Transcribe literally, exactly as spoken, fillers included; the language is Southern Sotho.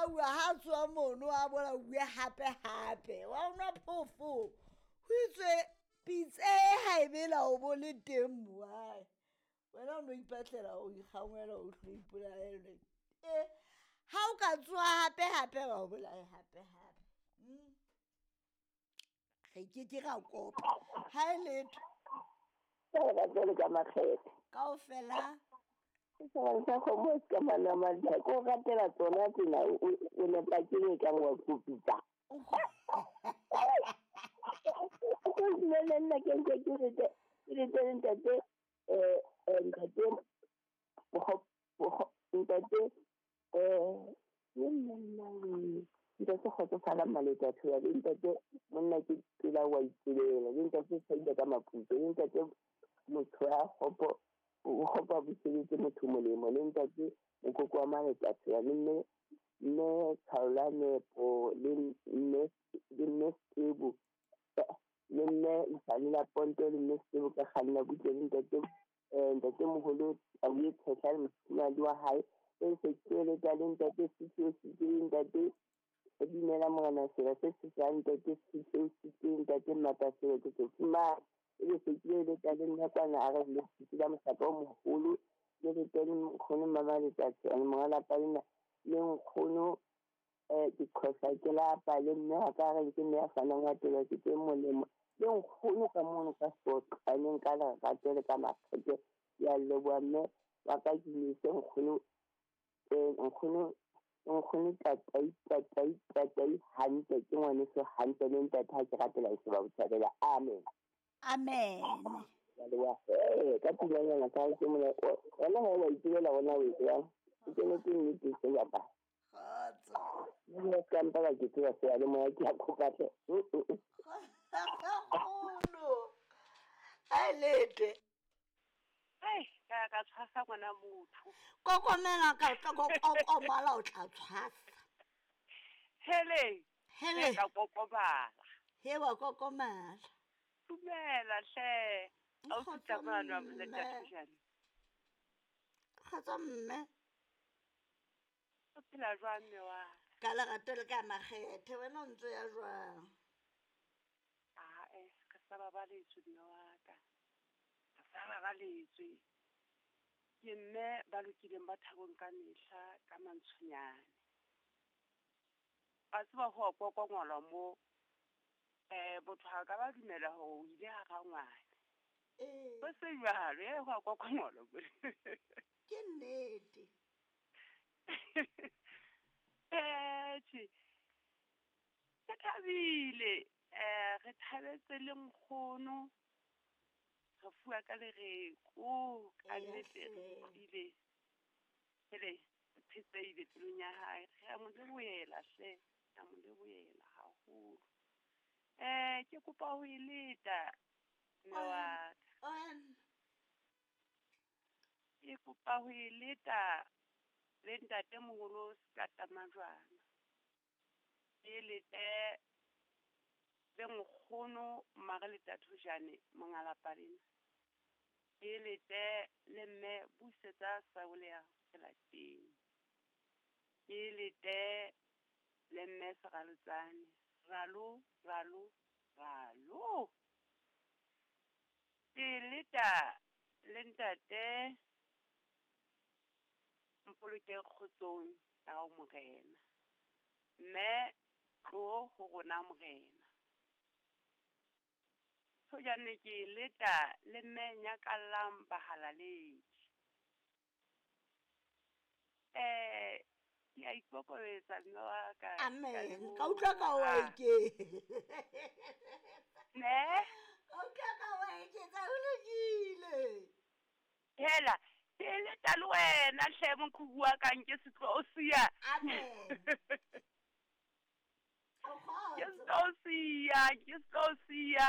bolauwa ha tswa mono a bolauwe hape hape wa nwa phofo ho itswe pitse ha e bela o bo le teng moae wena o no ipatlela o ikgangwela o tlo ipolaele e ha o ka tsoha hape hape ba o bolaye hape hape. Mm. Re ke ke ra kopa ha e letho ka le ka makgethe kaofela sa kgomo se ka manamadi ko ratela tsona tsena o nepa ke e kang wa kopitsa ko dumele nna ke ntse ke rete ke rete ntate um ntate ntate um ke monna ntate kgotsofala maleta thoya le ntate monna ke tsela wa itselela le ntate saile ka maputso le ntate motho ya kgopo o kgopo a buseditse motho molemo le ntate mokoko wa maleta thoya le mme mme Tshaola Nepo le mme le mme Sebo le mme Isale Ponto le mme Sebo ka kganna butle le ntate um ntate moholo a buye tshehla le mofumahadi wa hae e se ke le ntate Sitso Sitso ntate dumela morena sela se se sa ntate Sitso Sitso ntate Mataselo ke se fumana e be se ke le tsa le nna kwana a re le sitsi la mohlaka o moholo le re teng nkgono mama letsatsi a monga lapa lena le nkgono um ke qhosa ke lapa le mme wa ka re ke mme ya fanang wa tela ke tse molemo le nkgono ka mono ka soqaneng ka lerato le ka makgethe ya leboha mme wa ka ke ise nkgono um nkgono nkgono tatai tatai tatai hantle ke ngwaneso hantle le ntate ha ke ratela e se ba bothabela. Amen. Amen. Ya leboha eh ka tulanyana ka ke mona wena ha wa itulela wona o etsang ke ne ke nnete se ya ba kgotso nna ka mpa ka ke tseba se ya le moya ke a kopa tle kgolo a lete ai ka ka tshwasa ngwana motho kokomela ka tla kokomala o tla tshwasa hele hele ka kokomala he wa kokomala dumela hle a o tsamana wa monna kgotsa mme o phela jwang mme wa ka lerato le ka makgethe wena o ntse ya jwang ae re sa babaletswe mme wa ka re sa babaletswe ke mme ba lokileng ba thabong ka mehla ka mantshonyane a tseba ho kokongolwa mo eh botho ha ka ba dumela hore o ile ha rangwane ee go se jwalo e go kokongolwa ke nnete eh tjhe ke thabile eh re thabetse le nkgono re fuwa ka lereko ka nnete re utlwile hele phetseile pelong ya hae re a mo lebohela hle re a mo lebohela haholo eh ke kopa ho e leta mme wa ka ke kopa ho e leta le ntatemoholo Sekatamajwana ke lete le nkgono Mmareleta Thojane monga lapa lena ke lete le mme Busetsa Sabolea Selateng ke lete le mme Seralotsane ralo ralo ralo ke leta le ntate Mpoloke kgotsong ya hao morena mme tlo ho rona morena Thojane ke leta le mme Nyakallang bahalaledi eh ke a ikokobetsa mme wa ka amen ka utlwa ka wa eke ne ka utlwa ka wa eketsa ho lokile hela ke leta le wena hle moqhubu wa ka nke se tlo o siya amen ke se tlo o siya ke se tlo o siya